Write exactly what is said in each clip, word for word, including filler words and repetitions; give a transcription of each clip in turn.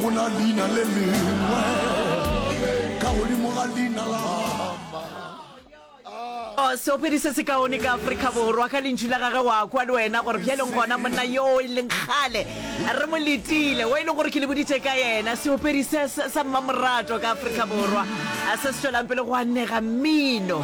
Go na leina le lengwe ka godimo ga leina la Oh, seopedi se sekaone ka Afrika Borwa ka lentšu la gage wa kwa le wena gore bjaleng gona monna yo e leng kgale re mo letile o e leng gore ke le boditše ka yena seopedi se se- sa mmamorato ka Afrika Borwa a se se tšwelang pele go anega mmino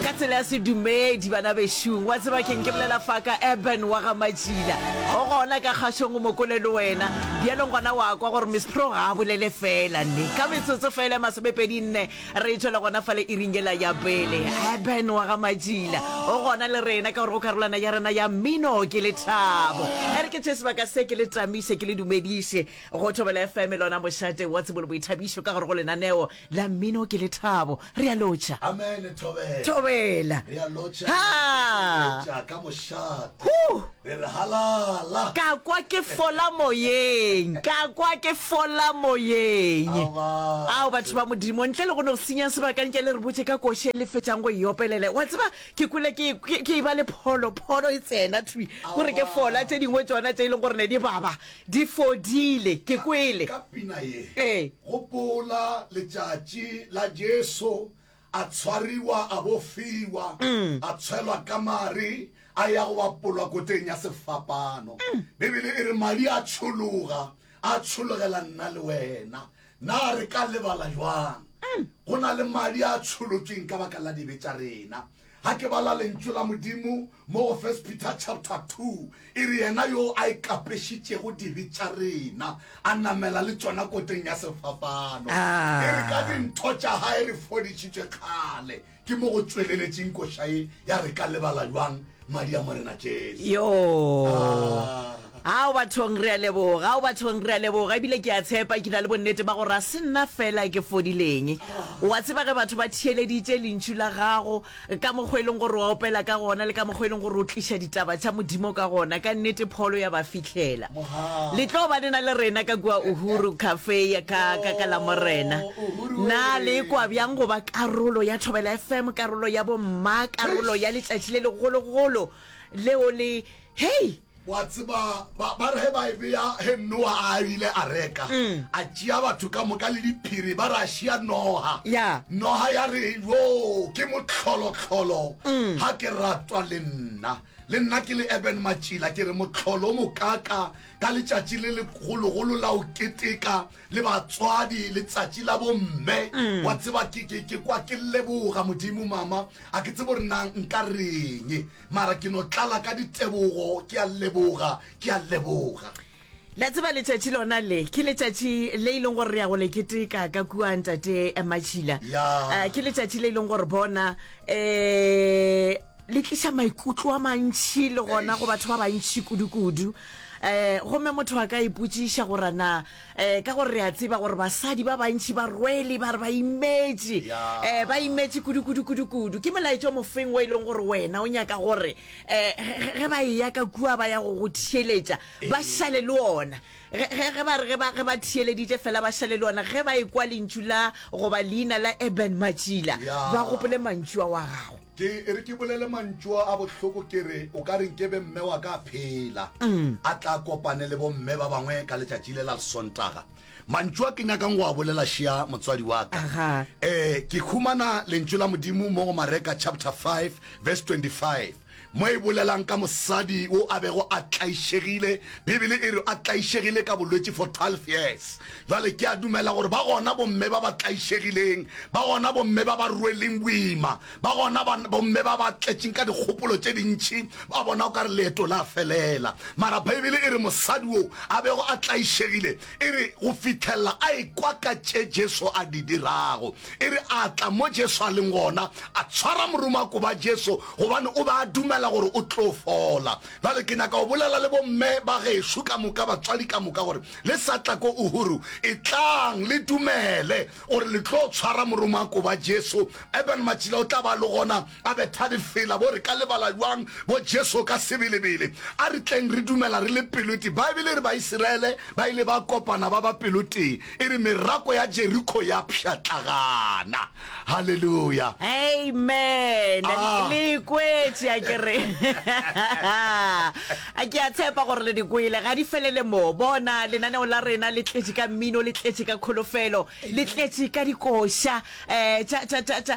ka tsela ya sedumedi bana bešung wa tseba keng ke bolela fa ka Urban wa ga Matšila o gona ka kgašong o mokole le wena bjaleng gona wa kwa gore Miss Pro ga a bolele fela nne ka metsotso fela e masomepedi nne re tšwela gona fale iring yela ya pele Urban wa ga Matšila o gona le rena ka gore go karolwana ya rena ya mmino ke lethabo e re ke tše sebaka se ke le tamiše ke le dumediše go Thobela F M lona mošate wa tsebo le boithabišo ka gore go lenaneo la mmino ke lethabo re a lotšha Amen Thobela Thobela re a lotšha Ha! re ka mošate Huh! re re halala ka kwa ke fola moyeng ka kwa ke fola moyeng Aowa. ao batho ba modimo ntle le go no senya sebaka nke le re botše ka koše le fetšang go e opelela wa tseba ke kwele ke ke- ke e ba le pholo pholo e tsena thwi gore ke fola tše dingwe tšona tše e leng gore ne di baba di fodile ke kwele ka pina ye ee gopola letšatši la Jesu a tshwariwa a bofiwa a tshwelwa ka mare a ya go bapolwa koteng ya sefapano Bibele e re madi a tšhologa a tšhologela nna le wena na re ka lebala jwang go na le madi a tšholotšweng ka baka la dibe tša rena ga ke bala lentšu la modimo mo go First Peter chapter two e re yena yo a ikapešitšego dibe tša rena a namela le tšona koteng ya sefapano Ah. e re ka dintho tša gae re fodišitšwe kgale ke mo go tsweleletšeng koša ye ya re ka lebala jwang madi a morena Jesu yo Ah. ao bathong re a leboga ao bathong re a leboga ebile ke a tshepa ke na le bonnete ba gore a se nna fela ke fodileng wa tseba ge batho ba theeleditše lentšu la gago ka mokgwa e leng gore wa opela ka gona le ka mokgwa e leng gore o tliša ditaba tša modimo ka gona ka nnete pholo ya ba fihlela Mohau. le tlo ba lena le rena ka kua Uhuru Cafe ya ka ka ka la morena Uhuru na we. le kwa bjang go ba karolo ya Thobela F M karolo ya bomma karolo ya letšatši le legologolo leo le hei wa tseba ba ba re ge ba e bea ge Noa a ile a reka a tšea batho ka moka le diphiri ba re a šia noga Ya. noga ya re yo ke motlholotlholo ga ke ratwa le nna le nna ke le Eben Matšila ke re motlholo o mokaka ka letšatši le legologolo la o keteka le batswadi letsatši la bomme wa tseba ke ke ke kwa ke leboga modimo mama a ke tsebe gore na nka reng mara ke no tlala ka ditebogo ke a leboga ke a leboga la tseba letšatši lona le ke letšatši le e leng gore re ya go le keteka ka kua ntate eh, Matšhila Ya. Eh, ke letšatši le e leng gore bona um le tliša maikutlo a mantšhi le gona go batho ba bantšhi kudu-kudu um gomme motho a ka ipotšiša gore na um ka gore re a tseba gore basadi ba bantšhi ba rwele ba re ba imetše Ya. um ba imetše kudu-kudu-kudu-kudu ke molaetša o mofeng o e leng gore wena o nyaka gore um ge ba eya ka kua ba ya go go theeletša ba šale le ona ge ge- ge ba re ge ba ge ba theeleditše fela ba šale le ona ge ba ekwa lentšu la goba leina la Eben Matšila Ya. ba gopole mantšu a wa gago ke e re ke bolele mantšu a bohloko ke re o ka reng ke be mme wa ka a phela a tla kopane le bomme ba bangwe ka letšatši le la Sontaga mantšu a ke nyakang go a bolela šia motswadi wa ka Aha. eh ke humana lentšu la modimo mo go Mareka chapter five verse twenty-five mo e bolelang ka mosadi o a bego a tlaišegile Bibele e re a tlaišegile ka bolwetši for twelve years jwale ke a dumela gore ba gona bomme ba ba tlaišegileng ba gona bomme ba ba rweleng boima ba gona ba- bomme ba ba tletšeng ka dikgopolo tše dintšhi ba bona o ka re leeto la felela mara Bibele e re mosadi o a bego a tlaišegile e re go fitlhelela a ekwa ka tše Jesu a di dirago e re a tla mo Jesu a leng gona a tshwara moromako ba Jesu gobane o ba a dumela gore o tlo fola jale ke nyaka go bolela le bomme ba gešo ka moka batswadi ka moka gore le sa tla ko Uhuru e tlang le dumele gore le tlo tshwara moromako ba Jesu Eben Matšila o tla ba le gona a betha difela bo re ka lebala jwang bo Jesu ka sebelebele a re tleng re dumela re le pelotee Bibele e re Baisiraele ba ile ba kopana ba ba pelotee e re merako ya Jeriko ya pšhatlagana halleluja amen Ah. le kwetše a ke re gore ke a tshepa gore le di kwele ga di felele mo bona lenaneo la rena le tletše ka mmino le tletše ka kholofelo le tletše ka dikoša um tša tša tša tša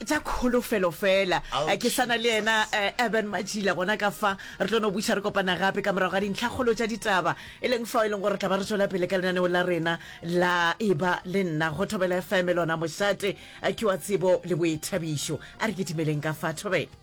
tša kholofelo fela Eh, ke sana le yena eh, Urban Matjila gona ka fa re tlo no buša re kopana gape ka morago ga dintlhakgolo tša ditaba e leng fao e leng gore re tla ba re tšwela pele ka lenaneo la rena la eba le nna go Thobela F M lona mošate eh, ke wa tsebo le boithabišo a re ketimeleng ka fa thobela.